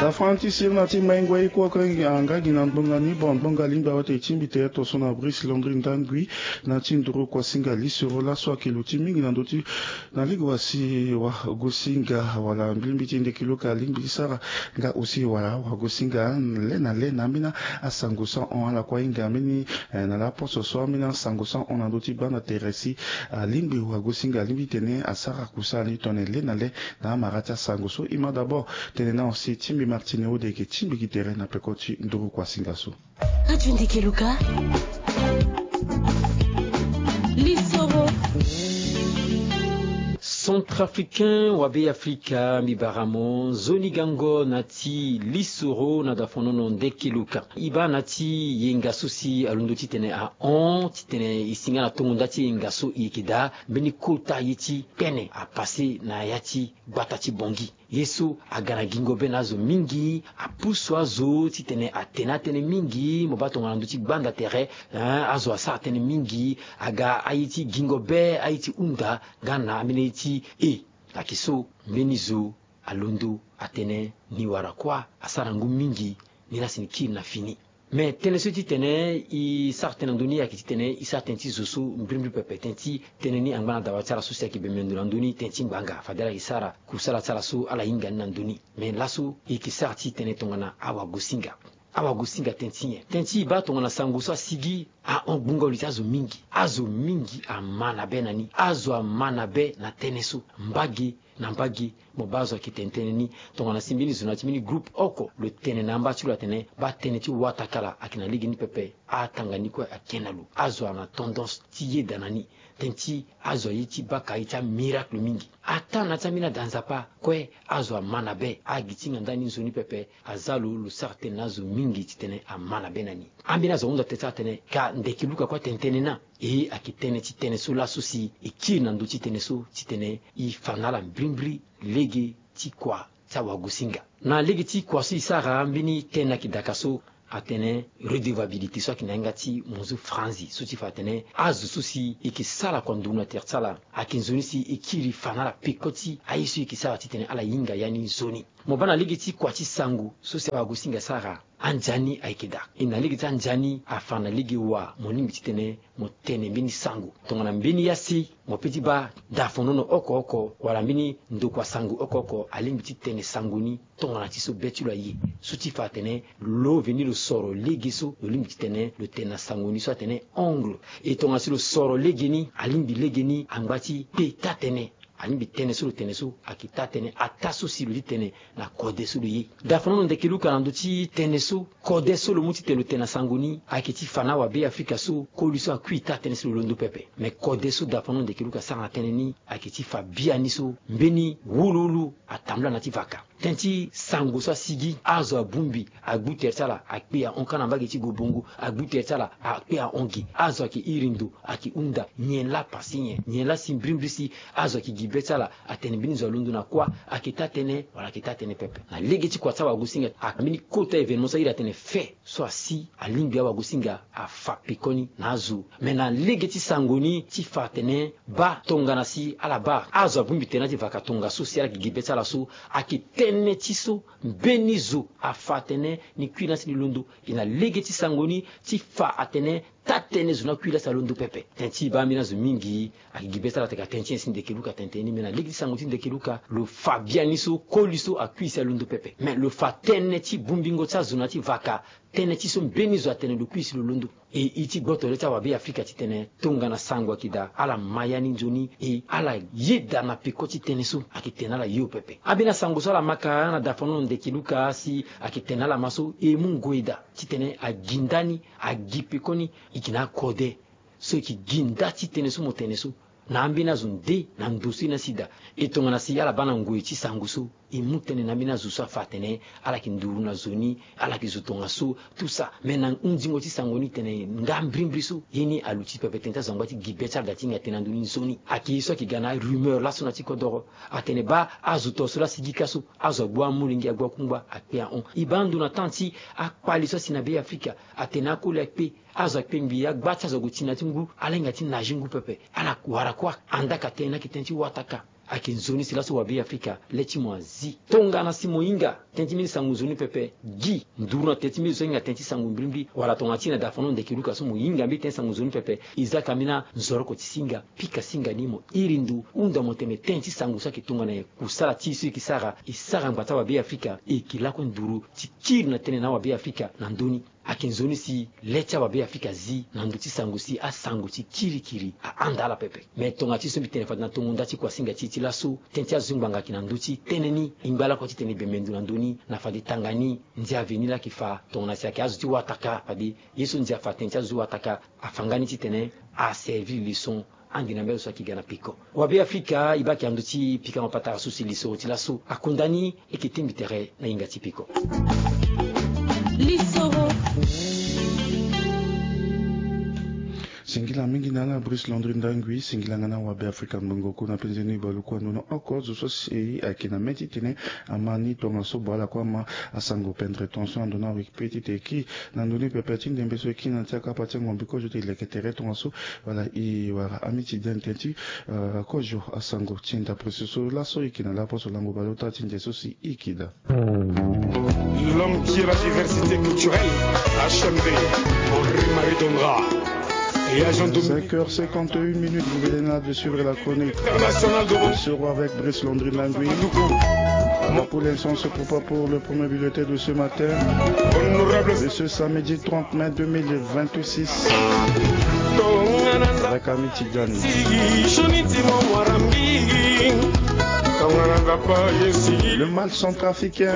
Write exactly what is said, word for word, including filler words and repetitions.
Afanti sirina ti maingo aye kue oko nga gi na ngbonga ni bon ngbonga lingbi awa te ti mbi tere tonso na Brice Landry Ndangui na ti nduru kuasinga lisoro laso ayeke luti mingi na ndö ti na lege wa si wagosinga wala mbilimbili ti ndeke luka alingbi ti sara nga aussi wala wagosinga le na le na ambeni asango so ahon ala kue ahinga ambeni na laposo so ambeni asango so ahon na ndö ti baa na tere si alingbi wagosinga alingbi ti tene asara kusala ni tongana le na le na amara ti asango so e ma d'abord tene na aussi ti mbi Martine Ode yeke ti mbi gi tere na peko ti nduru kuasinga so. Radio Ndeke Luka. Lisoro. Centrafricain wa Be Afrika, mbi bara mo nzoni gango na ti lisoro na dafonono Ndeke Luka. E baa na ti yenga so si alondo titene ahon titene e singa na tongo nda ti yenga so e yeke daa mbeni kota ye ti kpene apase na ya ti gbata ti Bongi. Ye so aga na gingo be na azo mingi, apusu azo titene atene atënë mingi, mo baa tongana ndö ti gbanda tere, eh, azo asara tënë mingi, aga aye ti gingo be, aye ti hunda, nga na ambeni ye ti e. Ayeke so, mbeni zo alondo atene ni wara kuâ, asara ngu mingi, ni la si ni kiri na fini. Me tënë so ti tene e sara tënë na ndö ni ayeke ti tene e sara tënë ti zo so mbirimbiri pepe, tënë ti tënë ni angba na dawa ti ala so si ayeke bembe ndo na ndö ni, tënë ti ngbanga fade ala yeke sara kusala ti ala so ala hinga ni na ndö ni. Me laso e yeke sara ti tene tongana awagosinga. Awagosinga tënë ti nyen? Tënë ti e baa tongana sango so asigi ahon gbungo li ti azo mingi. Azo mingi ama na be na ni. Azo ama na be na tënë so. Mbage na mbage, mo baa azo ayeke tene tënë ni. Tongana si mbeni zo na ya ti mbeni groupe oko lo tene na amba ti lo atene baa tënë ti watakala ayeke na legeni pepe, atanga ni kue ake na lo. Azo ana tendance ti yeda na ni. Tënë ti azo aye ti baka aye ti amiracle mingi. Ataa na ya ti ambeni ada Nzapa kue, azo ama na be. Agi ti ngandaa ni nzoni pepe. Aza lo lo sara tënë na azo mingi titene ama na be na ni. Ambeni azo ahunda tënë ti ala atene ka Ndeke Luka kue atene tënë ni na. E ayeke tënë ti tënë so laso si e kiri na ndö ti tënë so titene e fa na ala mbirimbiri lege ti kua ti awagosinga. Na lege ti kua so e sara mbeni tënë ayeke daka so atene redevabilité so ayeke na yanga ti monzu franzi so ti fa atene azo so si e yeke sara kua nduru na tere ti ala ayeke nzoni si e kiri fa na ala peko ti aye so e yeke sara titene ala hinga ya ni nzoni. Mo baa na lege ti kua ti sango so si awagosinga asara. Anzani ayeke daa. E na lege ti anzani afa na lege wa mo lingbi titene mo tene mbeni sango. Tongana mbeni ya si mo pe ti baa dafonono oko oko wala mbeni ndokua sango oko oko alingbi ti tene sango ni tongana ti so be ti lo aye. So ti fa atene lo veni lo soro lege so lo lingbi titene lo tene na sango ni so atene ongle. E tongana si lo soro lege ni alingbi lege ni angba ti kpe taa-tënë. Alingbi tënë so lo tene so ayeke taa-tënë ataa so si lo ti tene na kode so lo ye. Dafonono Ndeke Luka na ndö ti tënë so kode so lo mu titene lo tene na sango ni ayeke ti fa na awabe Afrika so koli so akui taa-tënë si lo londo pepe. Me kode so dafonono Ndeke Luka asara na tënë ni ayeke ti fa biani so mbeni wuluwulu atambula na ya ti vaka. Tënë ti sango so asigi azo abongbi agbu tere ti ala akpe ahon ka na mbage ti gobongo agbu tere ti ala akpe ahon ge. Azo ayeke iri ndo ayeke hunda nyen laa pasi nyen nyen laa si mbirimbiri si azo ayeke gi be ti ala atene mbeni zo alondo na kuâ ayeke taa-tënë wala ayeke taa-tënë pepe. Na lege ti kua ti awagosinga ayeke mbeni kota événement so airi atene fait so asi alingbi awagosinga afa pekoni na azo. Me na lege ti sango ni ti fa atene baa tongana si ala baa azo abongbi tere na ya ti vaka tongaso si ala yeke gi be ti ala so ayeke tënë ti so mbeni zo afa atene ni kui laa si ni londo. E na lege ti sango ni ti fa atene taa-tënë zo ni akui laa si alondo pepe. Tënë ti e baa ambeni azo mingi ayeke gi be ti ala atene ka tënë ti nyen si Ndeke Luka atene tënë ni. Me na lege ti sango ti Ndeke Luka lo fa biani so koli so akui si alondo pepe. Me lo fa tënë ti bongbingo ti azo na ya ti vaka tënë ti so mbeni zo atene lo kui si lo londo. E e ti gboto le ti awabe Afrika titene tongana sango ayeke daa ala ma ya ni nzoni e ala yeda na peko ti tënë so ayeke tene na ala yo pepe. Ambeni asango so ala ma ka na dafonono Ndeke Luka si ayeke tene na ala ma so e mu ngoi daa titene agi ndani agi pekoni. E yeke na akode so e yeke gi nda ti tënë so mo tene so na ambeni azo nde na ndo so e na sida. E tongana si ala baa na ngoi ti sango so e mu tënë na ambeni azo so afa atene ala yeke nduru na zo ni ala yeke zo tongaso. Tout ça me na hundingo ti sango ni tene nga mbirimbiri so ye ni aluti pepe tënë ti azo angba ti gi be ti ala daa ti hinga tënë na ndö ni nzoni. Ayeke ye so ayeke ga na arumeur laso na ti kodoro atene baa azo to so laa sigi ka so azo agbu amolenge agbu akungba akpe ahon. E baa ndo na temps ti akpale so asi na be Afrika atene akoli akpe azo akpe ngbii agba ti azo ague ti na ya ti ngu ala hinga ti nage ngu pepe. Ala wara kuâ andaka tënë ni ayeke tënë ti wataka. Ayeke nzoni si laso wabe Afrika le ti mo azi. Tongana si mo hinga tënë ti mbeni sango nzoni pepe, gi nduru na tënë ti mbeni zo so ahinga tënë ti sango mbrimbri, wala tongana ti na da fano ndeke luka so mo hinga mbeni tënë ti sango nzoni pepe, e za ka mbeni anzoroko ti singa, pika singa ni mo iri ndo, hunda mo tene tënë ti sango so ayeke tongana nyen, kusala ti e so e yeke sara, e sara ngba ti awabe Afrika, e yeke lakue nduru ti kiri na tënë na awabe Afrika na ndö ni. Ayeke nzoni si le ti awabe Afrika zi na ndö ti sango si asango ti kirikiri ahanda ala pepe. Me tongana ti so mbi tene fade na tongo nda ti kuasinga ti e ti laso, tënë ti azo ti ngbanga ayeke na ndö ti tënë ni, e ngba lakue titene e bembe ndo na ndö ni, na fade tanga ni, ndia ve ni laa ayeke fa, tongana si ayeke azo ti wataka, fade ye so ndia fa tënë ti azo ti wataka, afa nga ni titene aservi leçon ande na mbeni so ayeke ga na peko. Wabe Afrika, e baa ayeke na ndö ti pikango patara so si lisoro ti laso akunda ni, e yeke tingbi tere na hinga ti peko. Lisoro. Singila mingi na ala Brice Landry Ndangui, singila nga na wabe Afrika ngbongo ko na penze ni baluku ando na oko zo so si ayeke na mê titene ama ni tongaso bua ala kue ama asango pendre ton so ando na wiki pe titene e ki na ndoni pepe ti ndembe so e ki na ti akapa ti ango mbi kozo ti e leke tere tongaso. Wala e wara ami ti dente ti, eh, kozo asango ti ndapre so laso e yeke na laposo lango baleota ti ndia so si e yeke daa. L'homme qui est la diversité culturelle, H M V, Henri-Marie Dondra et agent de cinq heures cinquante et une minutes, vous venez là de suivre la chronique internationale de Lisoro avec Brice Landry Ndangui. Pour l'instant, on se prépare pour le premier bulletin de ce matin, honorable, de ce samedi trente mai deux mille vingt-six. Avec Ami Tidjani. Le mal centrafricain.